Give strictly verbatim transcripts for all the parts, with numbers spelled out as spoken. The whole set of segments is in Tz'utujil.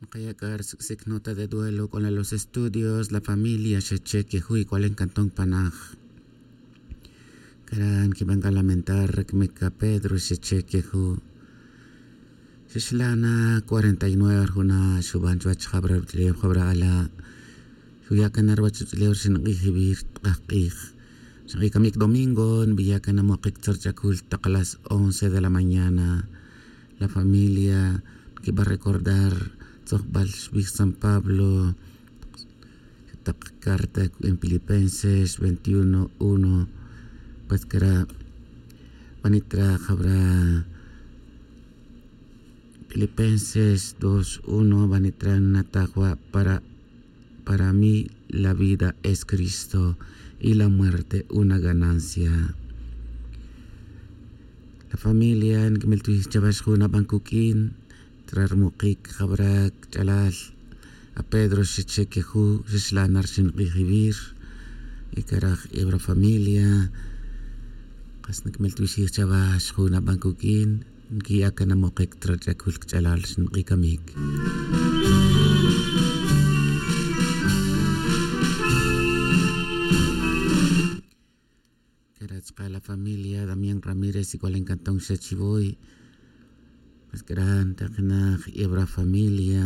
Nkaya' c'a ri sic' sic' nota de duelo c'o na los estudios la familia xeche' queju' y c'o la ncantón panaj. Cara' nquiban c'a lamentar ri camic c'a pedro xeche' queju'. Xixla' na cuarenta y nueve ri juna' xuban chuwech jabra ruch'ulef jabra ala'. Xuya' can na ruwech ruch'ulef ri xink'ij iwir tk'aj k'ij. Xink'ij camic domingo nbiya' can na mokic tzor ch'acul tak las once de la mañana. La familia nquiba recordar tzojbal xbij san pablo tak carta en filipenses veintiuno uno. Pues cara' banitra jabra filipenses dos uno banitra natajwa' para para mí la vida es cristo y la muerte una ganancia. La familia nquimil tibij chawax jun aban cuq'uin tra ri mukic jabra cach'alal. A pedro xeche' queju' xixla' na ri xink'ij iwir. Y caraj ebra familia kas nquimil tibij xij chawax jun aban cuq'uin. Nquiya' can na mukic tra ri ch'acul cach'alal ri xink'ij camic. Cara' chka' la familia damián ramírez y c'o la ncantón xa chivoy. Mas cara' ntakinaj ebra familia.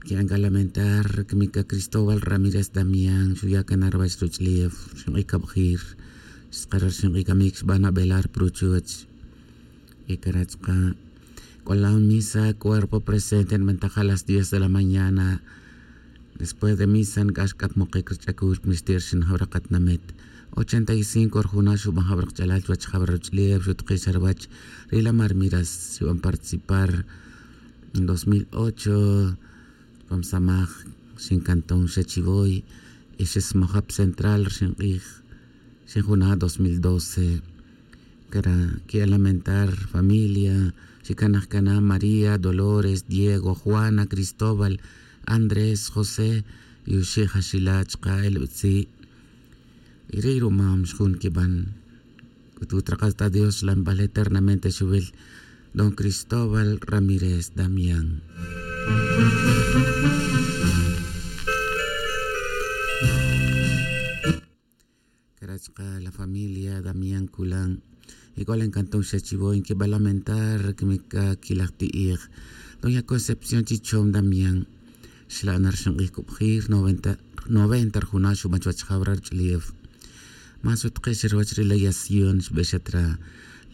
Nqui'an c'a lamentar camic c'a cristóbal ramírez damián xuya' can na ruwech ruch'ulef xink'ij cabjir. Xtzakara' ri xink'ij camic xban abelar pa ruchuch. Y cara' chka' c'o la misa cuerpo presente nbantaj a las diez de la mañana. Después de misa nc'ax c'a pa mokic ri ch'acul pa nixti' ri xinjaw ri katinamit. Ochenta y cinco ri juna' xuban jaw ri kach'alal chuwech jaw ri ruch'ulef xutuki' xa ruwech. Ri la marmiras xuban participar en dos mil ocho. Chupam samaj xincanton xa chivoy. Y xismaja pa central ri xink'ij xinjuna' dos mil doce. Cara' quiya' lamentar familia. Xicanaj cana maría dolores diego juana cristóbal andrés josé. Y oxi' jaxila' chka' elbetzi'. Y ri' rumam xjun quiban. C'utu trakas ta dios xlanbal eternamente xuwil don cristóbal ramírez damián. Cara' chka' la familia damián culan. Y c'o la ncanton xa chivoy nquiba lamentar camic c'a quilaj ti'ij. Doña concepción chichom damián. Xla' na ri xink'ij cubjir noventa ri juna' xuban chuwech jaw ri ruch'ulef. Más utke' xa ruwech ri la yación xbe xa tra.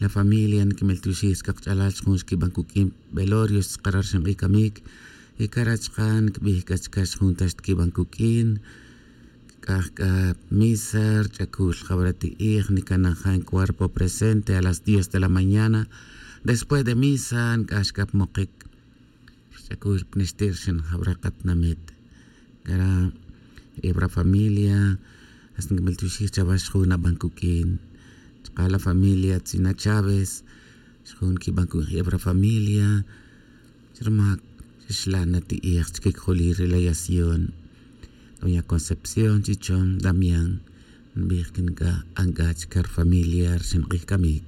La familia niquimel tiwixij chka kach'alal xjun xquiban cuq'uin velorio xtzakara' ri xink'ij camic. Y cara' chka' niquibij c'a chca xjun ta xtiquiban cuq'uin. Quic'aj c'a misa ri ch'acul jawara' ti'ij nicanajan cuerpo presente a las diez de la mañana. Después de misa nic'ax c'a pa mokic ri ch'acul pa nixti' ri xinjawara' katinamit. Cara' eb ra familia hasta niquimel tiwixij chawa xjun naban cuq'uin. Chka' la familia tzina chaves xjun quiban cuq'uin eb ra familia. Chi rumac xixla' na ti'ij chique cojolil ri la yación. Doña concepción chichon damián nbij que nic'a anc'a chica ri familia ri xink'ij camic.